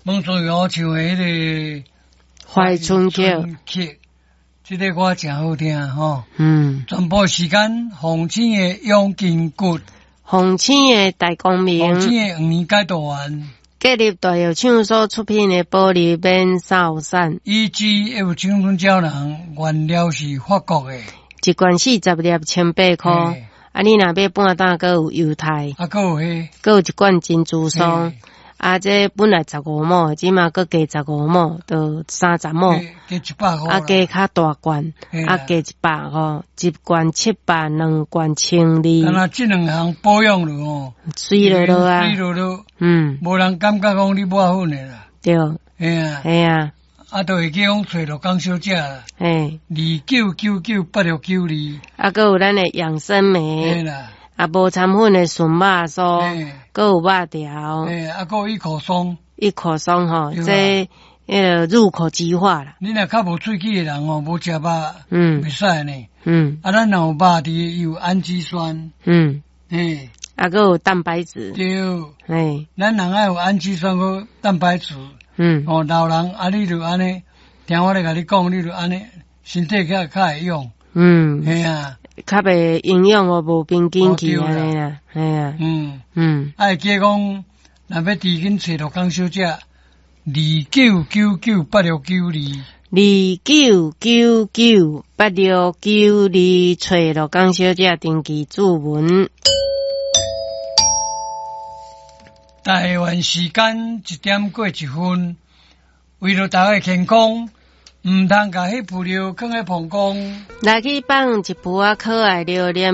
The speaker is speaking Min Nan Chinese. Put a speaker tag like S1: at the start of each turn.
S1: 蒙仲尧唱的彼个《
S2: 怀春曲》，
S1: 曲，這个歌誠好聽吼。全部時間，鳳青的養筋骨，
S2: 鳳青的大光明，
S1: 鳳青的黃連解毒丸，
S2: 國立大藥廠所出品的保利免掃散，
S1: EGF 青春膠囊，原料是法國的，
S2: 一罐40粒，18箍。啊，你若買半擔，閣有優待。
S1: 啊，閣有彼，
S2: 閣有一罐珍珠酥。啊，這本來15毛，這馬閣加十五毛，就30毛。
S1: 加100箍。
S2: 啊，加較大罐，啊，加100箍，一罐700，兩罐1200。
S1: 敢若這兩項保養落吼，
S2: 媠落落啊，
S1: 媠落落，無人感覺講你抹粉的啦。
S2: 對。
S1: 嘿啊。
S2: 嘿啊。
S1: 啊，就會記講揣陸江小姐啦。29998692。
S2: 啊，閣有咱的養生酶。
S1: 嘿啦。
S2: 啊，無摻粉的純肉酥，閣有肉條。
S1: 嘿，啊，閣有一口鬆。
S2: 一口鬆吼，這彼个入口即化啦。
S1: 你若較無喙齒的人吼，無食肉，袂使呢。啊，咱若有肉佇，有氨基酸。嘿。
S2: 啊，閣有蛋白質。
S1: 對。
S2: 嘿。
S1: 咱人愛有氨基酸閣蛋白質。哦，老人啊，你就按呢，聽我咧共你講，你就按呢，身體較較會用。嘿啊。
S2: 較袂營養哦，無平均去按呢啦，嘿啊。
S1: 啊，會記講，若欲佇緊揣陸江小姐，29998692。
S2: 29998692，揣陸江小姐登記注文。
S1: 台灣時間1點過1分，為著大家健康，毋通共彼布料囥佇膀胱。
S2: 來去放一櫥仔可愛榴蓮。